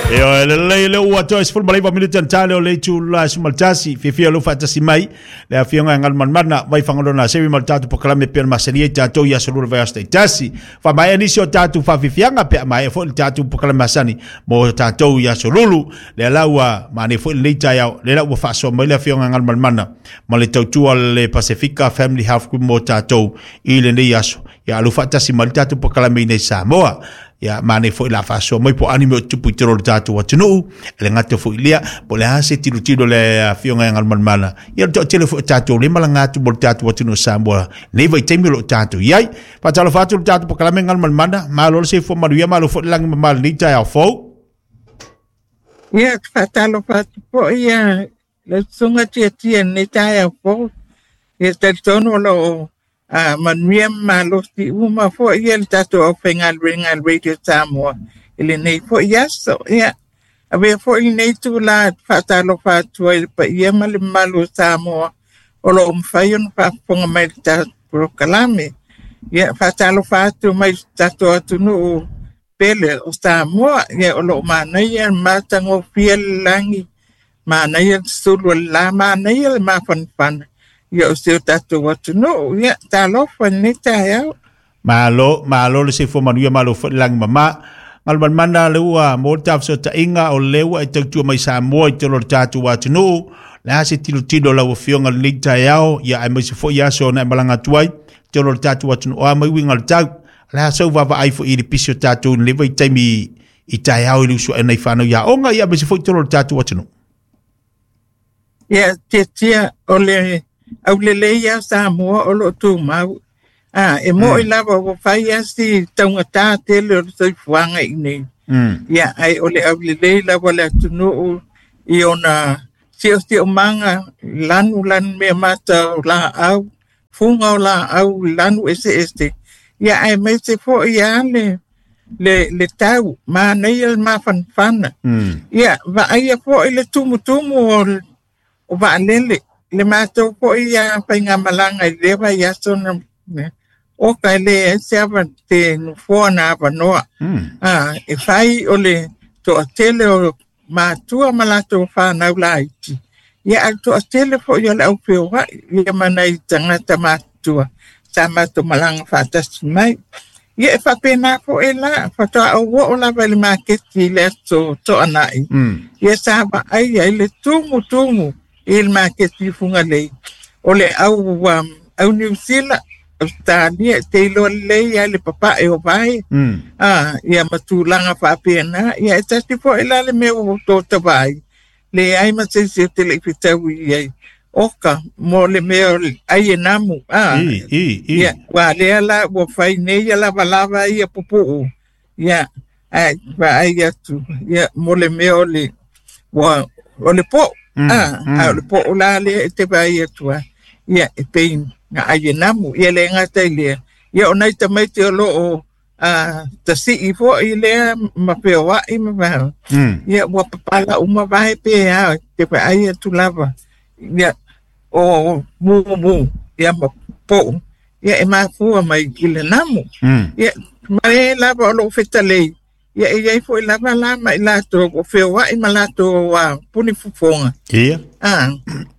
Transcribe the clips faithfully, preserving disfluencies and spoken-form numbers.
Ia lelei le ua toe sefulu ma le iva minute na tale o le itula sefulu ma le tasi. Fiafia lou faatasi mai le afioga e Galumalemana vai Fagaloa Sevi ma le tatou polokalame e pei ona masani ai tatou i aso lua o le vaiaso taitasi. Faamaea nisi o tatou faafiafiaga pe a maea foi le tatou polokalame masani mo tatou i aso lulu. Lea la ua maea foi lenei taeao, lea la ua faasoa mai le afioga e Galumalemana ma le tautua le Pasefika Family Health Group mo tatou i lenei aso. Ia alu faatasi mai le tatou polokalame i nei Samoa. Ia manaia foi la faasoa mai po o ani mea o tupu i totonu o le tatou atunuu, e le gata foi i lea, po o le a se tilotilo a le afioga ia Galumalemana. Ia le toatele foi o tatou lea e malaga atu mo le tatou atunuu o Samoa nei vaitaimi o lo o tatou i ai. Faatalofa atu i le tatou polokalame Galumalemana, malo le soifua manuia, malo foi le lagi mama i lenei taeao fou. Ia, faatalofa atu foi ia lau susuga Tiatia i lenei taeao fou. Ia talitonu o lo o a manuia ma malosi uma foi ia le tatou aufaigaluega a le Radio Samoa i lenei foi aso. Ia, avea foi lenei itula e faatalofa atu ai i le paia ma le mamalu o Samoa o lo o mafai ona faafofoga mai i le tatou polokalame. Ia, faatalofa atu mai i le tatou atunuu pele o Samoa. Ia, o lo o manaia le matagofie le lagi, manaia le sulu o le la, manaia le mafanafana ia o si o tatou atunuu. Ia, talofa i lenei taeao. Malo, malo le soifua manuia, malo foi le lagi mama. Galumalemana le ua mo le tafesootaiga o le ua e tautua mai Samoa i totonu o le tatou atunuu. Le a se tilotilo lau afioga i lenei taeao, ia aemaise foi aso na e malaga atu ai i totonu o le tatou atunuu, o a mai uiga o le tau. Le a sau vaavaai foi i le pisi o tatou i lenei vaitaimi i taeao i le usuaina i fanau i aoga, ia aemaise foi i totonu o le tatou atunuu. Ia, Tiatia, o le aulelei ia Samoa o lo o tumau. Ah, e mo'i mm. lava ua fai a si taugatā tele o le soifuaga i nei. Mm. Ia, ai o le aulelei lava le atunuu i ona siosiomaga, lanu lanu mea mata o laau, fuga o laau, lanu eseese. Ia, aemaise foi a le le, le tau, manaia le mafanafana. Mm. Ia, vaaia foi le tumutumu o, o vaalele, le matou foi ia faigamalaga i lea vaiaso na oka e leai se ava te nofoa na avanoa. Mm. Ah, e fai o le toatele o matua ma latou whanau laiti. Ia, a le toatele foi o le au feoai, ia ma nai tagata matutua sa matou malaga faatasi mai. Ia, e faapena foi la, faatoa ou oo lava i le maketi i le aso Toanai. Mm. Ia sa vaai ai le tumutumu i le maketi i Fugalei. O le au, um, au Niu Sila, Australia, te iloa lelei ai le papae o vae. Mm. Ah, ia ma tulaga faapena. Ia, e tasi foi la le mea ua tota vaai. Leai ma se isi o te le i fetaui i ai. Oka, mo le mea o le ai e namu. Ah, I, i, i. ia, ua lea la, ua fai nei ia lavalava ia pupuu. Ia, ai, vaai atu. Ia, mo le mea o le, ua, o le po'o. Mm, Ah, a o mm. le po'o la lea e te vaai atu ai. Ia, e pei na ai e namu. Ia le gata i lea. Ia, o nai tamaiti o lo o ah, tasii foi lea ma feoai ma vao. Mm. Ia, ua papala uma vae pe a, te vaai atu lava. Ia, o mumu, ia ma po'o. Ia, e mafua mai i le namu. Mm. Ia, ma e lava o loo fetalei. Ia, e iai foi lava la ma i latou o feoai ma latou a puni fofoga. Ia. Ah,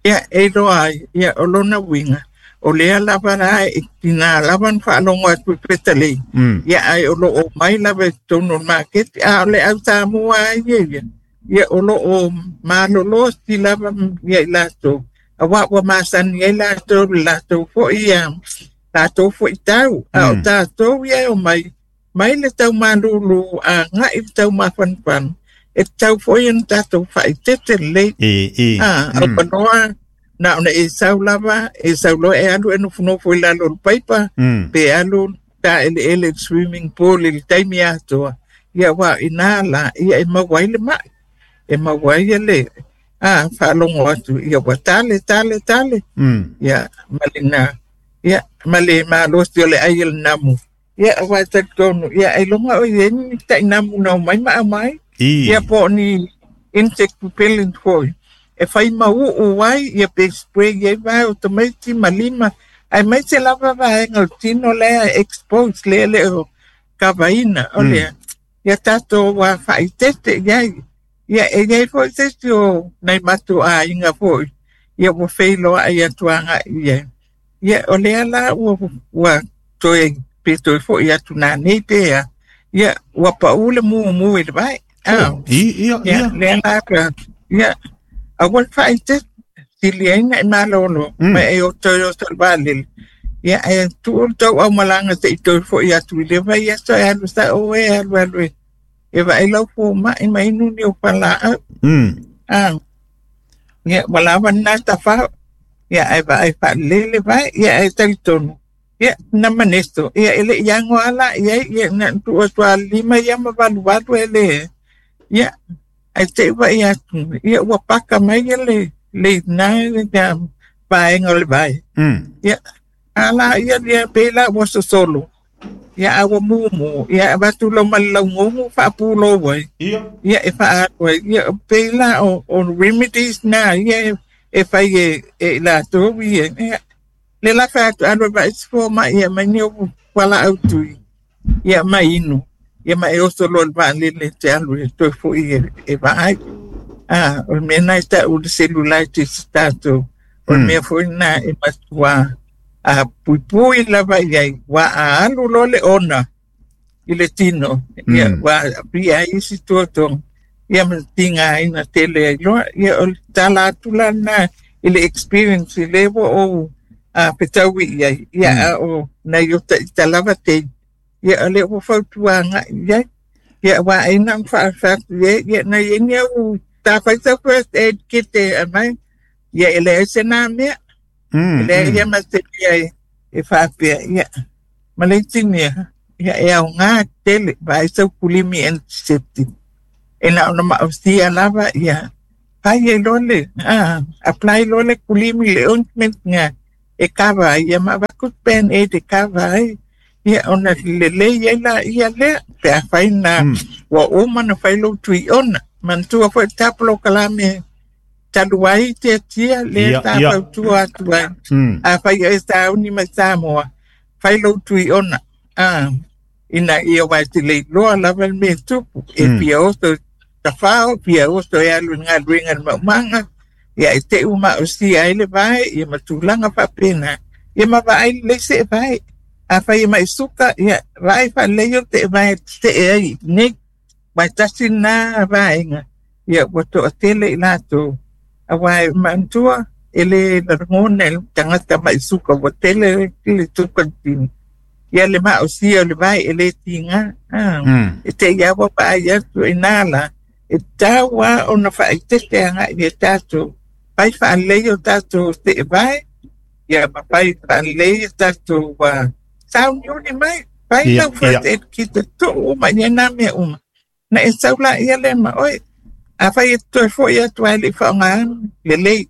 ia, e iloa ai, ia, o lona uiga, o lea lava la e tina lava na faalogo atu i fetalei. Mm. Ia, ai o lo o mai lava i totonu o le maketi, a o le au Samoa ai ia ia. Ia, o lo o malolo si lava ia i latou. Auā ua masani ai latou i le latou foi ia, latou foi tau. A o Mm. tatou ia e omai, mai le taumalūlū a agai le taumafanafana, e tatau foi ona tatou faaeteete lelei. I, i. Ah, au Mm. panoa, na ona e sau lava, e sau loa e alu e nofonofo i lalo o le paipa, Mm. pe alu taeleele i le swimming pool i le taimi atoa. Ia, auā inā la, ia e maua ai le mai. E maua ai ia le, ah, faalogo atu, ia ua tale, tale, tale. Mm. Ia, ma lena, ia, ma le malosi o le ai o le namu. Ia, auā e talitonu, ia, ailoga o i ai ni tainamu na omai ma aumai. I. Ia, po o ni insect repellent foi. E fai mau'u ai, ia pe spray ai vae o tamaiti ma lima. Aemaise lava vaega o le tino lea e expose lea e le o kavaina. O Mm. lea, ia tatou ua faaeteete i ai. Ia e iai fo'i se isi o nai matou aiga fo'i ia ua feiloa'i atu aga'i i ai. Ia o lea la ua ua toe pe toe fo'i atu nanei pe a. Ia ua pa'ū le mumu i le vae. Ah. Oh, i ia Ia ia. lea la ka ia aua le faaeteete siliaina e malolo Mm. ma e o toe oso i le vaalele. Ia ae tuu le tou aumalaga se'i toe fo'i atu i le vaiaso e alu sa'o e alu alu e e vaai lau foma'i ma inu ni o falaau. Mm. Ah. Ia ua lava lena tafao. Ia ae vaai faalelei le vae ia ae talitonu. Ia na maneso ia e le'i ago ala iai ia na tuu atu lima ia ma valuvalu e le ia ae te'i vaai atu ia ua paka mai ia le le ina le vaega o le vae. Mm. Ia ala ia ia pe la ua sosolo. Ia a ua mumu ia avatu lau ma le laugogo faapulou ai. Ia. Ia e faaalu ai ia pei la o o remedies na ia e e fai e e latou ia ia le la fai atu alu e vaai se foma'i ia mai ni ou fualaau tui ia ma inu ia ma e oso loa i le vaalele e te alu e toe fo'i e e vaai. Ah, o le mea lena e ta'u le cellulitis tatou o le Mm. mea foi lena e matuā a puipui lava i ai ua a alu loa le ona i le tino ia Mm. ua a'afia ai isi tuatuaga ia ma tigāina tele ai loa ia o le tala atu la lena i le experience i lē ua ou a fetaui'i ai ia Mm. a o nai o ta'ita lava tei ia o lea ua fautuaga'i i ai ia ua aina ona fa'afeatu i ai ia na iai ni au tafai sau first aid kit e aumai ia e leai se nā mea e Mm. leai ia Mm. ma se mea e e faapea ia ma le itigia ia e aogā tele vaai sau kulimi antiseptic e na ona ma'ausia lava ia fai ai loa le ah, apply loa le kulimi le ointment ga e kava ai ia ma avatu band aid e kava ai ia ona lelei ai laia lea pe afai na Mm. ua uma ona fai lou tui'ona manatua fo'i le tapolokalame talu ai tiatia lea Ia sa ia. fautua atu ai Mm. afai oe sauni mai Samoa fai lou tui'ona ah, ina ia uae te leiloa lava le mea tupu e Mm. fia oso tafao fia oso e alu i le galuega i le maumaga ia e te'u ma'osia ai le vae ia ma tulaga faapena ia ma vaai lelei se'e vae afai e ma'i suka ia vaai faalelei o te'e vae te'e ai nei uae tasi lenā vaega ia ua to'atele i latou auā e manatua e lē lagona e le tagata ma'i suka ua tele le suka i le tino ia le ma'osia o le vae e lē tigā ah. Mm. E te'i ua vaai atu inā la e tau a ona faaetete aga'i e tatou fai faalelei o tatou te'e vae ia ma fai faalelei o tatou uh, sauniuni mai fai Ia lau first ia. aid kit e tu'u uma i nā mea uma na e sau laia lea ma oe afai e toe fo'i atu ai le'i fa'aogāna lelei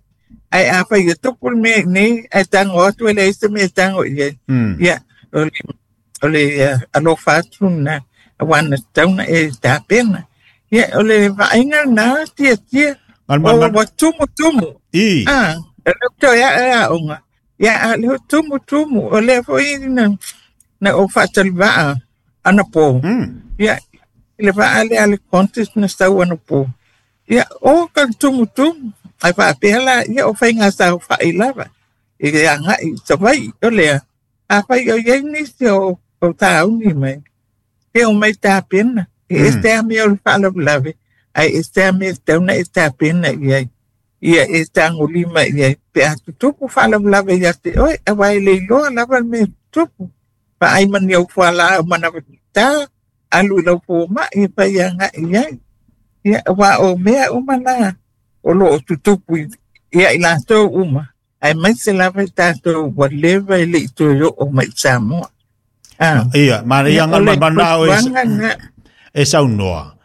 ae afai e tupu le mea iinei ae tago atu e leai se mea e tago i ai Mm. ia o le o le uh, alofa atu lena auā na tatau e tapena ia o le vaaiga lenā tiatia Mal o mal mal. ua tumutumu I. ah e lē toe a'e a'oga ia a le tumutumu o lea fo'i na na ou fa'ataliva'a anapō Mm. ia i le va'a lea le contest na sau anapō ia o ka le tumutumu ae faapea la ia o faiga saofa'i lava i le aga'i i Savai'i o lea afai o iai nisi o o tauni mai pe o mai tapena e Mm. ese a mea o le faalavelave ae ese a mea e tatau ona e tapena i ai ia e tagolima i ai pe a tutupu faalavelave ia te oe auā e le iloa lava le mea tutupu vaai ma ni au fualaau manava tatā alu i lau foma'i e fai aga'i ai ia auā o mea uma la o lo'o tutupu i ia i latou uma ae maise lava i tatou ua leva e le'i toe o'o mai i Samoa ah Ia, ma ia ia o ngal le mal mal o e fautuaga lena e saunoa.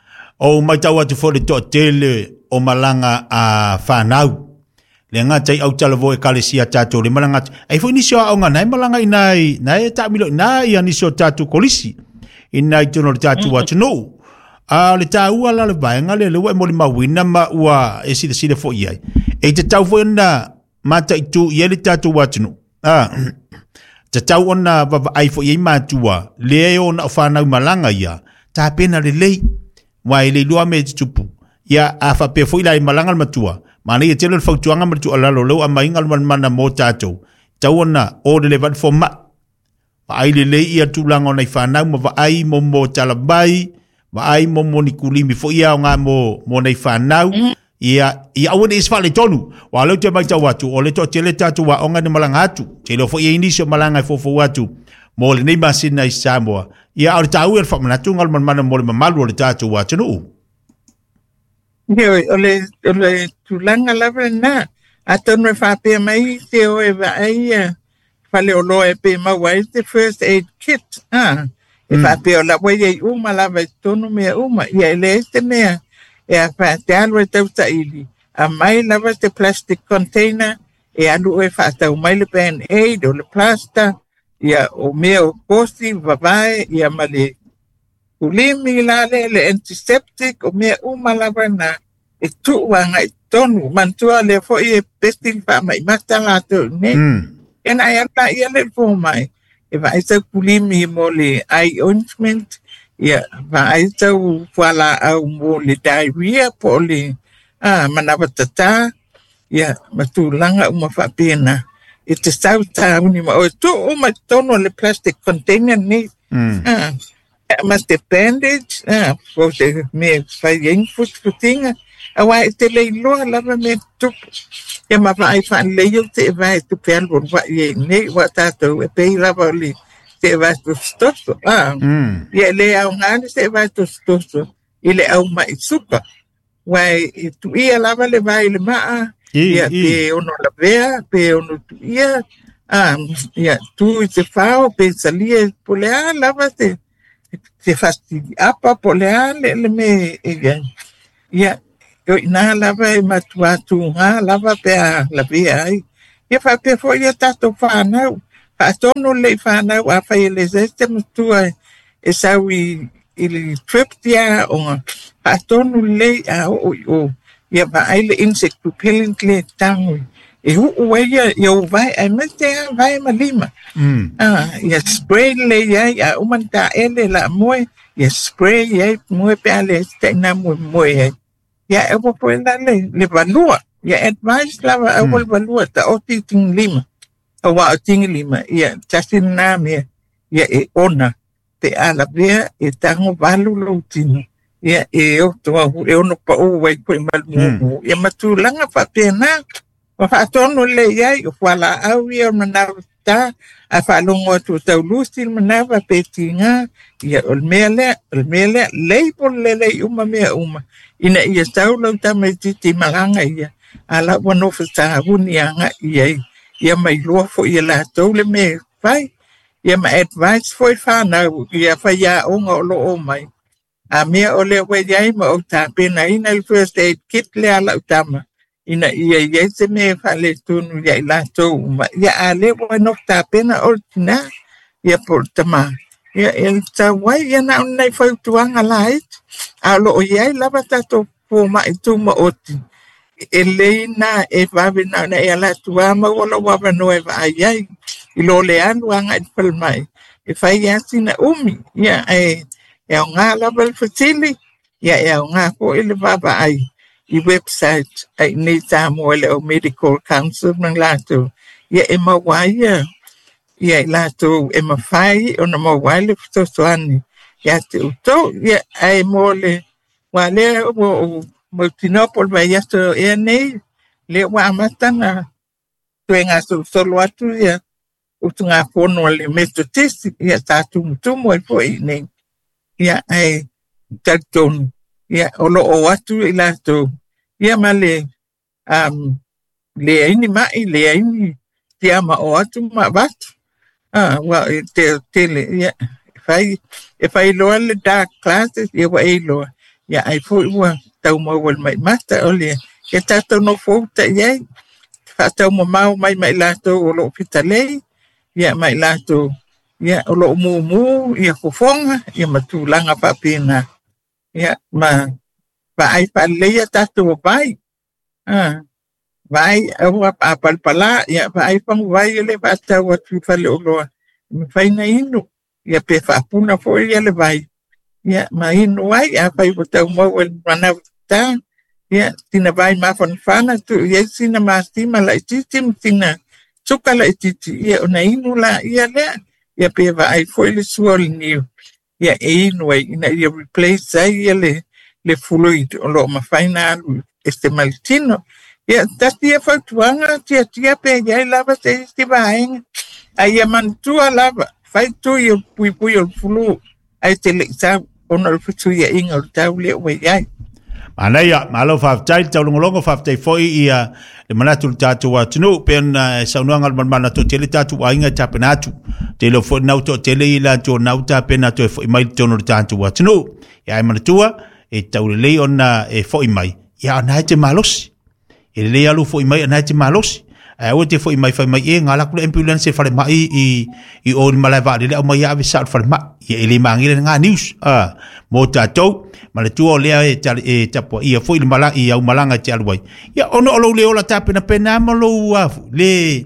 O mai tau atu fo le to'atele o malaga a whanau. Le ngā tai au tala vo e kalesia tātou le malanga. Ai fo nisi o aonga nai malanga i nai, nai e tāmilo nai ia nisi o tātou kolisi. I nai tono le tātou atu A le tāua la le vaenga le lewa e moli mawina ma ua e sile sile fo iai. E te tau fo na mata i tu i le tātou atu Ah, te tau ona vava ai fo iai mātua. Le e ona o whanau malanga ia. Tā pena le lei. Wai le lua me te tupu. Ia a faapea foi la i malaga le matua manaia ia tele le fautuaga ma le tuualalo leu aumaiga le manumana mo tatou tau ona o le leva le foma'i vaai lelei ia tulaga o nai fanau ma vaai mo mo talamai vaai mo mo ni kulimi foi ia o ngā mo mo nei fanau ia ia aua ne i se faaletonu ua leu te matau atu o le toatele tatou aoga ni malaga atu tele foi ia nisi o malaga e foufou atu mo lenei masina i Samoa ia o le taua le faamanatuga o le manumana mo le mamalu o le tatou atunuu. Ia o le o le tulaga lava lena atonu e faapea mai te o e vaai ia faleoloa e pe maua ai te first aid kit a e faapea o la ua iai uma lava i totonu mea uma ia e leai se mea e a te alu e tautaili aumai lava te plastic container e alu oe faatau mai le band aid o le plaster ia o mea o kosi vavae ia ma le ulimi la le le antiseptic o mea uma lava na e tuu agai totonu manatua lea foi e pesi le faamaimata latou nei ia na e alu laia le fomai e vaai sau kulimi mo le eye ointment ia vaai sau fualaau mo le diarrhea po o le a manawa tatā ia ma tulaga uma faapena e te sau tauni ma oe tuu uma i totonu o le plastic container nei a ma te bandage a po o se mea e fai ai ni futifutiga auā e te leiloa lava mea tutupu ia ma vaai faalelei au seevae tupe alu alua'i ai nei ua tatou e pei lava o le seevae tositoso a ia e lē aogā le seevae tositoso i le auma'i suka uae e tu'ia lava le vae i le maa ia pe ono lavea pe ono tu'ia a ia tu i te fao pe salia po o le a lava se se fasili'apa po o le a le le mea e iai ia o i'inā lava e matuā tugā lava pe a lavea ai ia faapea foi ia tatou fanau faatonu lelei fanau afai e lē se matua e sau i i le trip ia aoga faatonu lelei a oo i o ia vaai le insect repellent le tago e uu ai ia ia ou vae aemaise a vae ma lima a ia spray lelei ai a uma ona taele laamoe ia spray ai moe pe a leai se taina moemoe ai ia e aua foi la le le valua ia advice lava aua le valua taoti i tigilima auā o tigilima ia tasi lenā mea ia e ona pe a lavea e tago valu lou tino ia e oto au e ono paʻu ai foi ma le mumu ia ma tulaga faapena ma faatonu lelei ai o fualaau ia o le manawa tatā ae faalogo atu o taulusi le manawa pe tigā ia o le mea lea o le mea lea label lelei uma mea uma ina ia sau lau tamaititi malaga ia a la ua nofo savuni aga'i ai ia mailoa foi ia latou le mea e fai ia ma advice foi fanau ia faiaoga o loo mai a mea o lea ua iai ma ou tapenaina le first aid kit lea a lau tama ina ia iai se mea e faaletonu ia i latou uma ia a lea ua nofo tapena o le tinā ia po o le tamā ia e tau ai ia na o nai fautuaga laiti a o loo iai lava tatou foma'i tumaoti e lelei na e vave na ona e ala atu a maua lou avanoa e vaai ai i lo le alu aga'i le falemai e fai a sina umi ia ae e aogā lava le fesili ia e aogā foi le vaavaai i website ai nei Samoa le au Medical Council ma latou ia e maua ai ia ia i latou e mafai ona maua ai le fesoasoani ia te outou ia ae mo le ua lea ua ou mautinoa po o le vaiaso ea nei lea ua amata na toe gasolosolo atu ia utugafono a le Methodist ia sa tumutumu ai foi i nei ia ae talitonu ia o loo atu i latou ia ma le um leai ni ma'i leai ni tiama o atu ma avatu a ua e te tele ia e fai e fai loa le dark classes ia ua e iloa ia ai foi ua tau maua le maimata o le ia tatou nofo uta i ai faataumamao mai ma i latou o loo fitalei ia ma i latou ia o loo mumu ia fofoga ia ma tulaga faapena ia ma vaai faalelei ia tatou vai a vaai aua a palapala ia vaai faguvai e le faatau atu i faleoloa e mafai ona inu ia pe faapuna foi ia le vai ia ma inu ai afai ua tau maua i le manawa tatā Ia sina vai mafanafana tuu i ai sina masima laʻitiiti ma sina suka laʻitiiti ia ona inu laia lea ia pe vaai foʻi le sua o le niu ia e inu ai ina ia replace ai ia le le fluid o loo mafai na alu e se ma le tino. Ia tasi ia fautuaga tiatia pe iai lava se isi vaega a ia manatua lava fai tui o puipui o le fulu ae te leʻi sau ona o le fesuiaʻiga o le tau lea ua iai. Manaia, malo faafetai le taulogologo, faafetai foi ia le manatu le tatou atunuu pe ona saunoaga le malemana toatele tatou aiga e tapena atu. Tele foi nau toatele i latou nau tapena toe foi mai totonu o le tatou atunuu. Ia e manatua e taulelei ona e foi mai, ia ona e te malosi. E lelei alu foi mai ona e te malosi. Ae aua te foi mai fai mai e gala ku le ambulance e falemai i i o le malae vaalele aumai ia ave sao i le falemai. Ia e le magia lena news a mo tatou ma le tua o lea e tali e tapuaia foi le mala i au malaga e te alu ai. Ia ona o lou le ola tapenapena ma lou afu le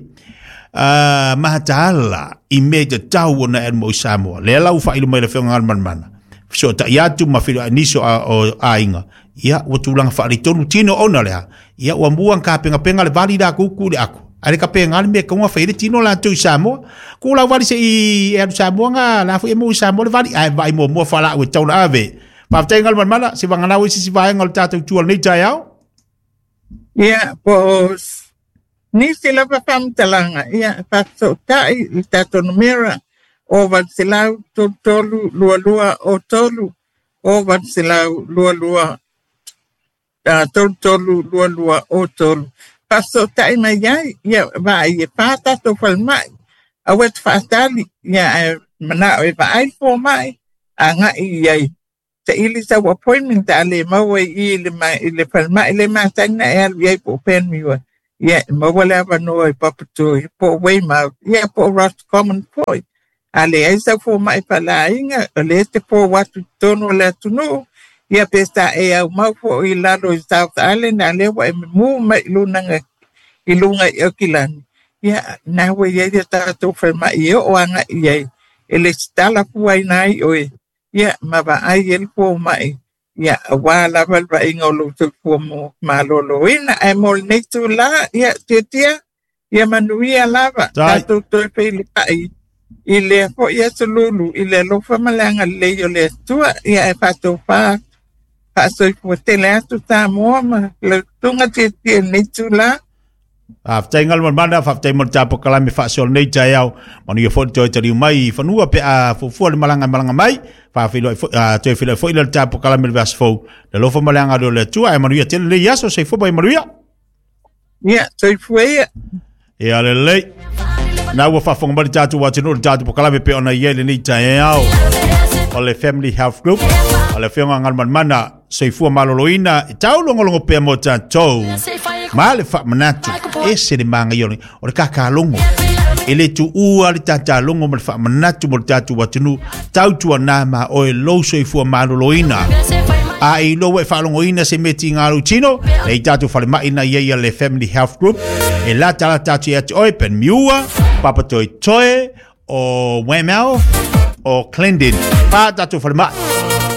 uh, mahataala i mea i tatau ona e alu mo i Samoa. Lea la ua faailo mai le afioga Galumalemana. Fesoatai atu ma feiloai nisi o aiga. Ia ua tulaga faaletonu tino ona lea. Ia ua mua kapengapenga le vali la kuku le aku. Ale ka penga le mea kaunga fai le tino la tu i Samoa. Ku lau vali se i e alu Samoa nga la fu e mo i Samoa le vali. Ai vai mua mua whala ue tauna ave. Faafetai Galumalemana, se vagana ue sisi vaega o le tatou tua lenei taeao. Ia, po o nisi lava faamatalaga, ia, faafesootai le tatou numera o valu selau tolu tolu lua lua o tolu o valu selau lua lua tolu tolu lua lua o tolu. Faafesootai mai ai, ia, vaai e pā tatou falemai, aua te faatali, ia, ae manao e vaai le fomai, agai i ai. Saili sau appointment a le maua i i le, ma, i le falemai le masani na e alu i ai po o Panmure. Ia, e maua le avanoa i Papatoetoe, po o Weymouth, ia po o Roscommon foi. A leai sau fomai faalaaiga, o lea te fou atu i totonu o le atunuu, ia pe sa e aumau foʻi i lalo i South Island, a lea ua e mumu mai i luga i luga i Aukilani. Ia, na ua iai ia tatou falemai e oo agaʻi i ai, e le sitala fuaina ai oe. Ia, ma vaai e le fomai. Ia, auā lava le vaaiga o lou soifua mo malōlōina. Ae mo lenei tūlā, ia, tiatia, ia manuia lava. Tatou toe feiloai i lea foʻi aso lulu, i le alofa ma le agalelei o le Atua. Ia, e faatofā faasoifua tele atu Samoa ma lau susuga tiatia i lenei tūlā. Faafetai Galumalemana, faafetai mo le tapokalame faasoa lenei taeao. Manuia foi le toe taliu mai i fanua pe a fuafua le malaga malaga mai. Faafeiloai foi toe feiloai foi le tapokalame le vaiaso fou. Le alofa ma le agalelei o le Atua ae manuia tele lenei aso soifua mai manuia. Ia, soifua ia. Ia lelei. Na ua faafofoga mai le tatou atunuu le tatou pokalame pe ona i ai lenei taeao. O le Family Health Group, o le afioga Galumalemana soifua maloloina e taulogologo pea mo tatou. Ma le faamanatu ese le magaia o le kakalogo. E le tuua le tatalogo ma le faamanatu mo le tatou atunuu tautuana ma oe lou soifua maloloina. A e iloa ua e faalogoina se mea tiga lou tino, le i tatou falemai na ia ia le Family Health Group, e latalata atu ia te oe Panmure, Papatoetoe, o Weymouth, o Clendon. Pa tatou falemai.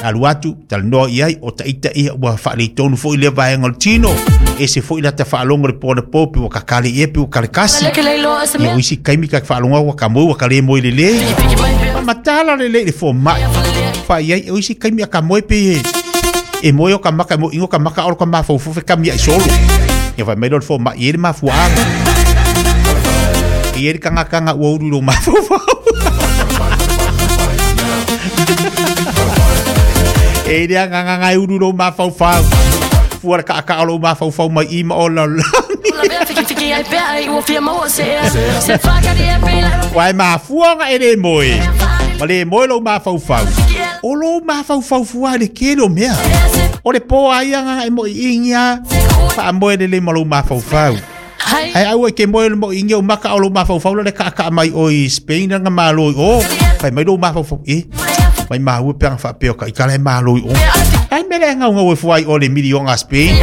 Alu atu, talanoa i ai, o taita ia ua faaletonu foi lea vaega o le tino. E se foi lata faalogo le pona po pe ua kakale ia pe ua kalekasi. Ia o isi kaimi ka faalogo ua ka moe ua ka le moe lelei. Matala lelei le fomai. Fai ai, o isi kaimi a ka moe pe e. E moe o ka maka, e moe ingo ka maka o ka mafaufau fe kamia i solo. Ia fai mai lo le fomai, e le mafuaaga. E le kangakanga ua uru i lo mafaufau. E le anganga e uru lo mafaufau. Fua le kaaka o lo mafaufau mai i ma o la langi. Wai mafuanga e le moe. Ma le moe lo mafaufau. O lo mafaufau fua le kelo mea. O le po ai anga e mo i ingia. Fa moe le le ma lo mafaufau. Ai au e ke moe le mo ingia o maka o lo mafaufau le kaaka mai o i Spain nga malo i o. Fai mai lo mafaufau e. Mai mahu pe anga whaapeo ka ikala e malo i o. Ai mele ngau ngau e fuai o le milionga Spain.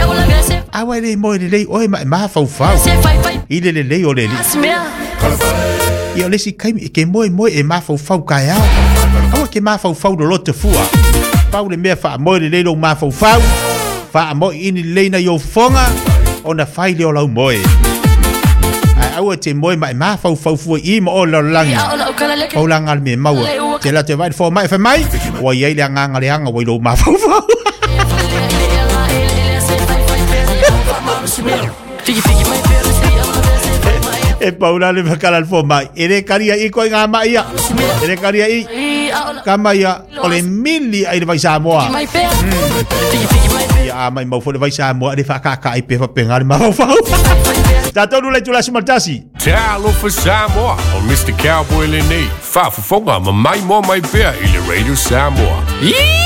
Awa le moe le lei oe ma e mafaufau. I le le lei o le li. Ia o le si kaimi e ke moe moe e mafaufau kai ao. Awa ke mafaufau lo lote fua. Pau le mea wha moe le lei lo mafaufau. Faamo'i ini lelei na i ou fofoga ona fai lea o lau moe. Ae aua e te moe ma e mafaufau fua i i ma o i le lalolagi. Paulaga le mea e maua. Te alu atu e vaai le fomai fai mai, ua i ai le agaga leaga ua i lou mafaufau. E paula le makala le fomai. E le karia i koe ngā mai ia. E le karia i. Kama ia o le mili ai le vai Samoa. Ia a mai mau foi le vai Samoa le whakaka ai pe whapenga le mafaufau. Tātou nula i tula sumaltasi. Talofa Samoa o Mister Cowboy lenei. Faafofoga ma mai moa mai pea i le Radio Samoa.